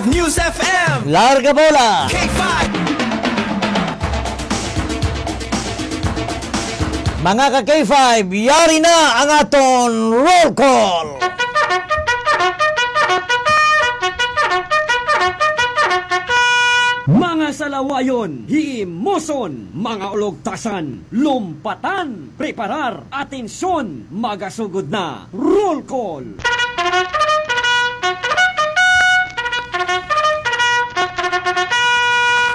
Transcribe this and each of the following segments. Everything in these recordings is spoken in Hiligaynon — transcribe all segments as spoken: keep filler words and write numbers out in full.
News F M. Larga Bola. K five. Mga ka K five, yari na ang aton roll call. Mga salawayon, himuson, mga ulogtasan, lumpatan, preparar, atensyon, magasugod na, roll call.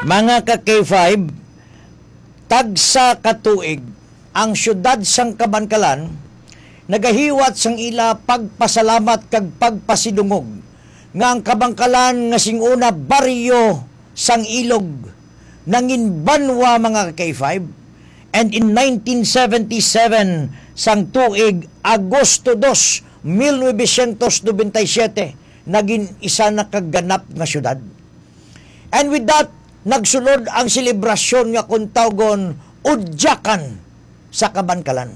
Mga ka K five, tagsa ka tuig, ang siyudad sang Kabankalan nagahiwat sang ila pagpasalamat kag pagpasidungog nga ang Kabankalan nga sing una baryo sang ilog nangin banwa, mga ka K five, and in nineteen seventy-seven sang tuig Agosto dos, mil novecientos nobenta y siete, nagin isa na ka ganap nga siyudad. And with that, nagsulod ang selebrasyon nga kung tawgon Udyakan sa Kabankalan.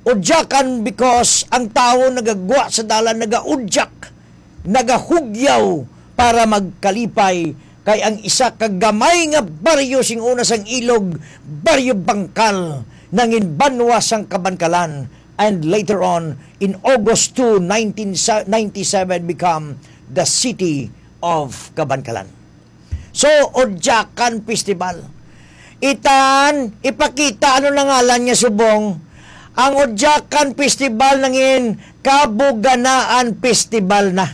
Udyakan because ang tawo nagagwa sa dalan, nagaudyak, nagahugyaw para magkalipay, kay ang isa ka gamay nga baryo sing una sang ilog, Baryo Bangkal, nangin banwa sang Kabankalan, and later on, in August two, nineteen ninety-seven, become the city of Kabankalan. So, Udyakan Festival. Itan, ipakita ano na ngalan niya subong. Ang Udyakan Festival nangin Kabuganaan Festival na.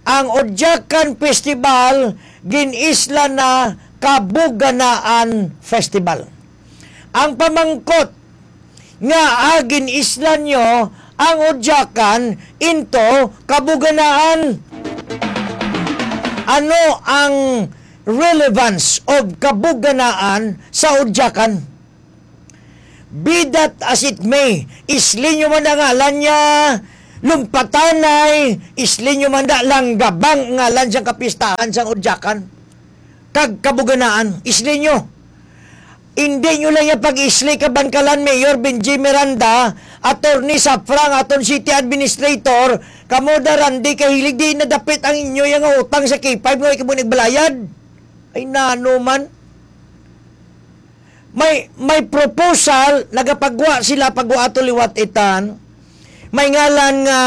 Ang Udyakan Festival, gin-isla na Kabuganaan Festival. Ang pamangkot, nga, ah, gin-isla nyo ang Udyakan into Kabuganaan. Ano ang relevance of Kabuganaan sa Udyakan? Be that as it may, isli nyo man ang ngalan niya, Lumpatanay, isli nyo man da, Langgabang ngalan siyang kapistahan sang Udyakan kag Kabuganaan, isli nyo. Indi nyo lang iya pag-isli, Kabankalan Mayor Benji Miranda, Attorney Safra, ang aton city administrator, kamo da, Randy Kahilig, di nadapit ang inyo iya nga utang sa K five nga way kamo nagbalayad. Ay, nano man. May, may proposal, nagapagwa sila, pagwa ato liwat itan. May ngalan nga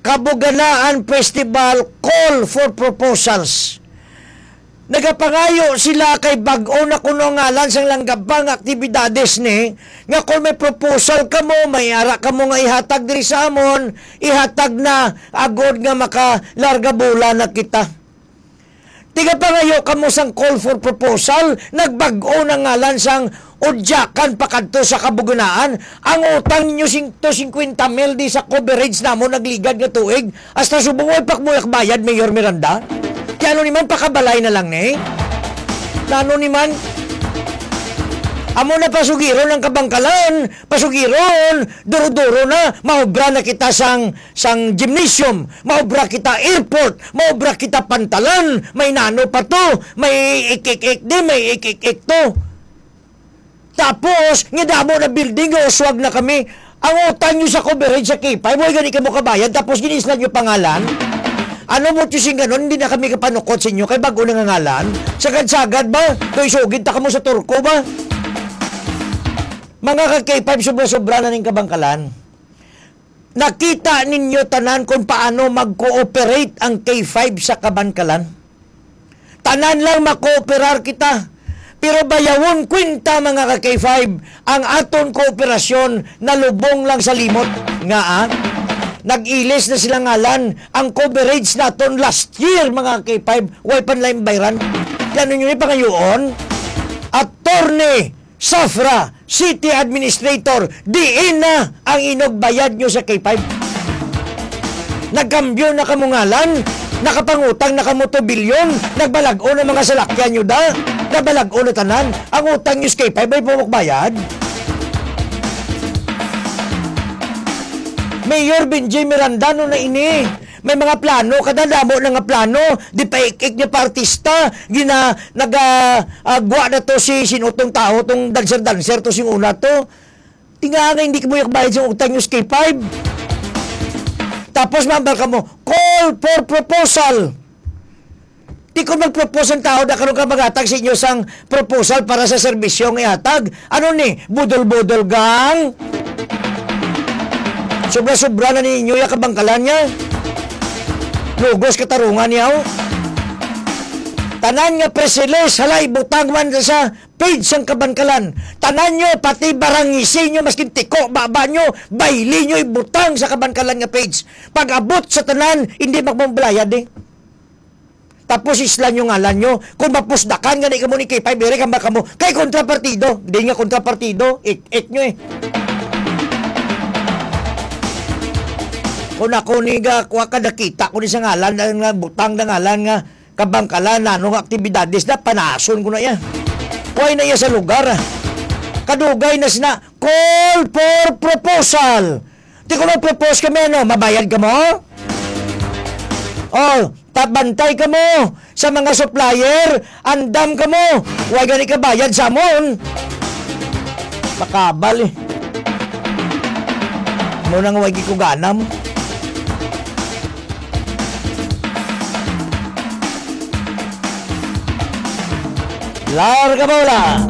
Kabuganaan Festival Call for Proposals. Nagapangayo sila kay bag-o na kuno ngalan sang Langgabang aktibidades ni, nga kung may proposal kamo, may ara kamo nga ihatag diri sa amon, ihatag na agod nga makalarga bola na kita. Tigapangayo kamo sang call for proposal, nagbag-o na ngalan sang Udyakan pakadto sa Kabuganaan. Ang utang ninyo sing-, to singkwenta mil di sa coverage namon nagligad nga tuig. Hasta subong way pa kamo bayad, Mayor Miranda. Kay ano ni man, pakabalay na lang ni? Nano ni man? Amo na pasugiron ang Kabangkalan, pasugiron, duro-duro na, maobra na kita sang, sang gymnasium, maobra kita airport, maobra kita pantalan, may nano pa to, may ik-ik-ik di, may ik-ik-ik to. Tapos, nga damo na building, nga uswag na kami. Ang utang nyo sa coverage sa K five, way gani kamo kabayad, tapos gin-isla nyo pangalan? Ano mo to sing ganon, hindi na kami kapanukot sa inyo, kay bago na nga ngalan. Sagad-sagad ba? Kay sugid ta kamo sa Turko ba? Mga ka K five, sobra-sobra na ning Kabangkalan. Nakita ninyo tanan kung paano mag-cooperate ang K five sa Kabangkalan. Tanan lang makooperar kita. Pero bayawon kwenta, mga ka K five, ang aton kooperasyon nalubong lang sa limot. Nga, ah, nag-ilis na sila ngalan. Ang coverage naton last year, mga ka K five, way pa nila bayran. Yan ninyo ni pangayoon. Attorney Safra, City Administrator, diin na ang inugbayad nyo sa K five? Nagkambyo na kamo ngalan, nakapangutang na kamo two billion, nagbalag-o na mga salakyan nyo da, nagbalag-o na tanan. Ang utang nyo sa K five, may pamukbayad? Mayor Benji Miranda, ano na ini? May mga plano, kada damo na nga plano, di pa ik-ik, di pa artista, gina-, naga-, ah, gwa na to si, sino tong tao, tong dancer-dancer to, sing una to. Tinga nga hindi mo yakbayad sa utang nyo sa K five. Tapos mambal ka mo, call for proposal. Di ko mag-propose ang tao na karon ka maghatag sa inyo sang proposal para sa serbisyo nga ihatag. Ano ni? Budol-budol gang? Sobra-sobra na ninyo ya kabangkalan niya. Lugos katarungan niya, oh. Tanan nga press release, hala, ibutang man sa page sang kabangkalan. Tanan nyo, pati barangisi nyo, maskin tiko, baba nyo, bayli nyo, ibutang sa kabangkalan nga page. Pag-abot sa tanan, hindi magmambalayad eh. Tapos isla nyo ngalan nyo. Kung mapusdakan gani kamo ni K five, iri kama kamo. Kay kontrapartido. Di nga kontrapartido. Ik-ik nyo eh. Kung ako ni ga, kuha ka nakita ko ni sa ngalan, nga butang na ngalan nga kabangkalan, ano nga aktibidades na, panason ko na iya. Kuha na iya sa lugar. Kadugay na sina, call for proposal. Di ko mag-propose kami, ano, mabayad ka mo? Oh, tabantay ka mo sa mga supplier, andam ka mo. Huwag gani ka bayad sa amon. Makabal eh. Mo nang huwag ko ganam. Larga bola.